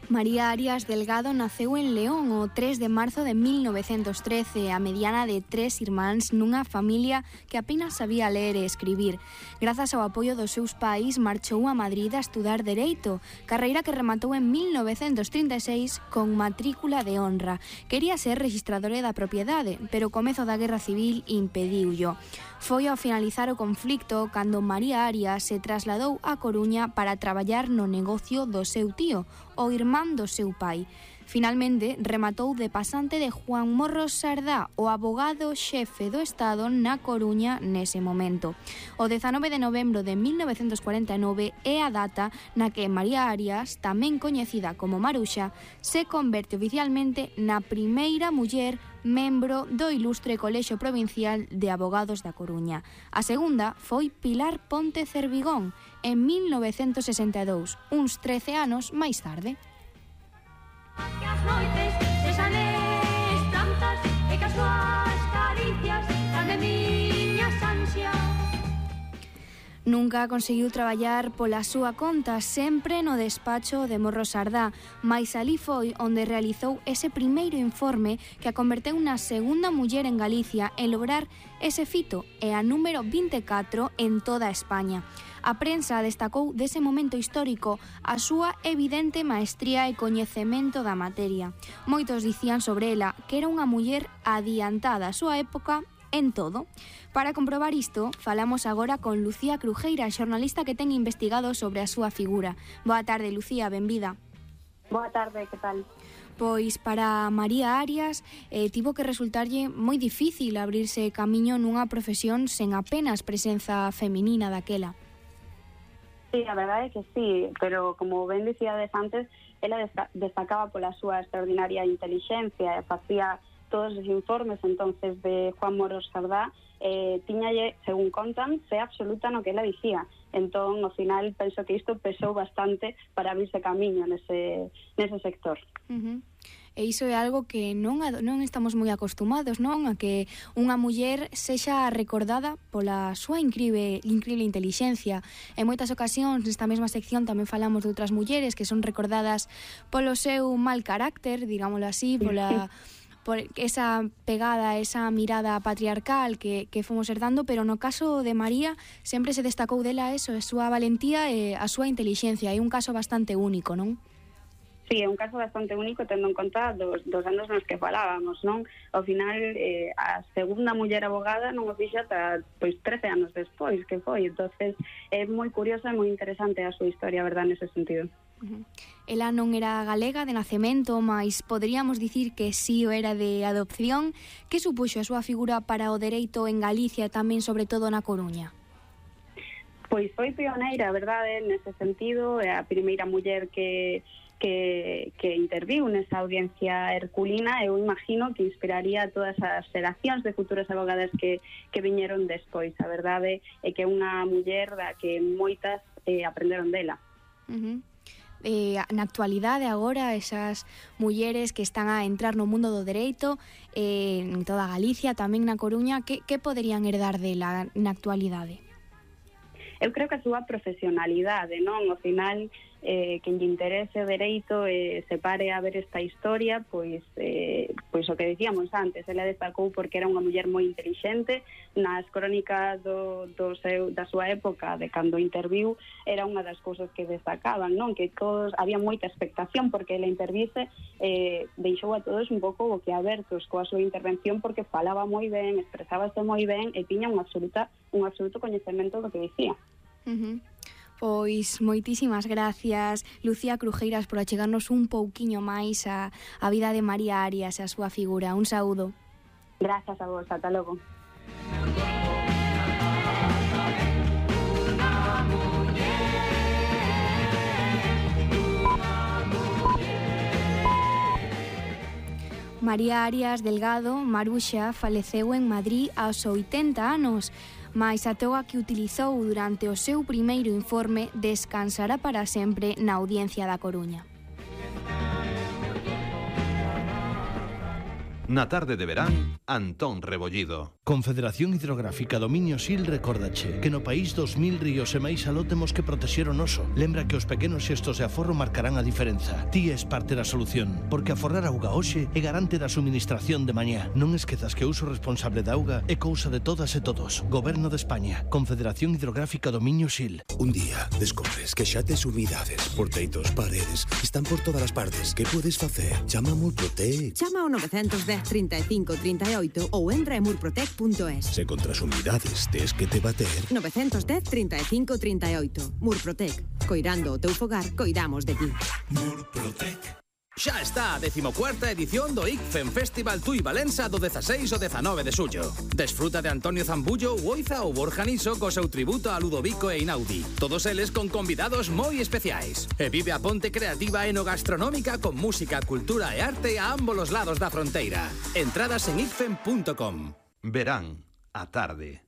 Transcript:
María Arias Delgado naceu en León o 3 de marzo de 1913, a mediana de 3 irmáns nunha familia que apenas sabía ler e escribir. Grazas ao apoio dos seus pais, marchou a Madrid a estudar Dereito, carreira que rematou en 1936 con matrícula de honra. Quería ser rexistradora da propiedade, pero o comezo da Guerra Civil impediullo. Foi ao finalizar o conflicto cando María Arias se trasladou a Coruña para traballar no negocio do seu tío, o irmán do seu pai. Finalmente, rematou de pasante de Juan Morros Sardá, o abogado xefe do Estado na Coruña nese momento. O 19 de novembro de 1949 é a data na que María Arias, tamén coñecida como Maruxa, se converte oficialmente na primeira muller membro do ilustre Colexio Provincial de Abogados da Coruña. A segunda foi Pilar Ponte Cervigón, en 1962, uns 13 anos máis tarde. Que as noites sexan esplantas e que as súas caricias dan de miñas ansias. Nunca conseguiu traballar pola súa conta, sempre no despacho de Morros Sardá, mais alí foi onde realizou ese primeiro informe que a converteu na segunda muller en Galicia en lograr ese fito e a número 24 en toda España. A prensa destacou dese momento histórico a súa evidente maestría e coñecemento da materia. Moitos dicían sobre ela que era unha muller adiantada a súa época en todo. Para comprobar isto, falamos agora con Lucía Crujeira, xornalista que ten investigado sobre a súa figura. Boa tarde, Lucía, benvida. Boa tarde, que tal? Pois para María Arias tivo que resultarlle moi difícil abrirse camiño nunha profesión sen apenas presenza feminina daquela. Sí, a verdade é que sí, pero como ben dicíades antes, ela destacaba pola súa extraordinaria intelixencia e facía todos os informes entonces de Juan Morros Sardá, tiñalle, según contan, fe absoluta no que ela dicía. Entón, ao final, penso que isto pesou bastante para abrirse camiño nese sector. E iso é algo que non estamos moi acostumados, non? A que unha muller sexa recordada pola súa incrível intelixencia. En moitas ocasións, nesta mesma sección, tamén falamos de outras mulleres que son recordadas polo seu mal carácter, digámoslo así, por esa pegada, esa mirada patriarcal que fomos herdando, pero no caso de María sempre se destacou dela eso, a súa valentía e a súa intelixencia. É un caso bastante único, non? Sí, é un caso bastante único tendo en conta dos anos nos que falábamos, non? Ao final, a segunda muller abogada non o fixa ata 13 anos despois que foi. Entonces, é moi curiosa e moi interesante a súa historia, verdad, nese sentido. Ela non era galega de nacemento, mas poderíamos dicir que sí o era de adopción. Que supuxo a súa figura para o dereito en Galicia e tamén, sobre todo, na Coruña? Pois foi pioneira, verdade, nese sentido. É a primeira muller que interviu nesa audiencia herculina. Eu imagino que inspiraría a todas as xeracións de futuras abogadas que viñeron despois. A verdade é que é unha muller da que moitas aprenderon dela. Na actualidade agora esas mulleres que están a entrar no mundo do dereito en toda Galicia, tamén na Coruña, que poderían herdar dela na actualidade? Eu creo que a súa profesionalidade, non? Ao final, quen lle interese o dereito se pare a ver esta historia, pois o que dicíamos antes, ela destacou porque era unha muller moi intelixente. Nas crónicas da súa época, de cando interviu, era unha das cousas que destacaban, non? Que todos, había moita expectación porque ela intervise, deixou a todos un pouco boquiabertos coa súa intervención porque falaba moi ben, expresábase moi ben e tiña un absoluto coñecemento do que dicía. Pois moitísimas gracias, Lucía Crujeiras, por achegarnos un pouquiño máis a vida de María Arias e a súa figura. Un saúdo. Gracias a vos, ata logo. María Arias Delgado, Maruxa, faleceu en Madrid aos 80 anos, mais a toga que utilizou durante o seu primeiro informe descansará para sempre na Audiencia da Coruña. Na tarde de verán, Antón Rebollido. Confederación Hidrográfica Dominio Sil recordache que no país 2000 ríos e máis aló temos que protexer o noso. Lembra que os pequenos xestos de aforro marcarán a diferenza. Ti és parte da solución, porque aforrar auga hoxe é garante da suministración de mañá. Non esquezas que o uso responsable da auga é cousa de todas e todos. Goberno de España, Confederación Hidrográfica Dominio Sil. Un día descobres que xa tes humidades, porteitos, paredes, están por todas as partes. Que podes facer? Chama a Murprotec. Chama ao 910 35 38 ou entra en murprotec.es. Se contra as humidades tes que te bater. 910 35 38. Murprotec. Coirando o teu fogar, coidamos de ti. Murprotec. Xa está a 14ª edición do ICFEM Festival Tui Valença do 16 ao 19 de xullo. Desfruta de Antonio Zambullo, Oiza ou Borja Niso co seu tributo a Ludovico e Inaudi. Todos eles con convidados moi especiais. E vive a ponte creativa enogastronómica con música, cultura e arte a ambos os lados da fronteira. Entradas en icfem.com. Verán, a tarde.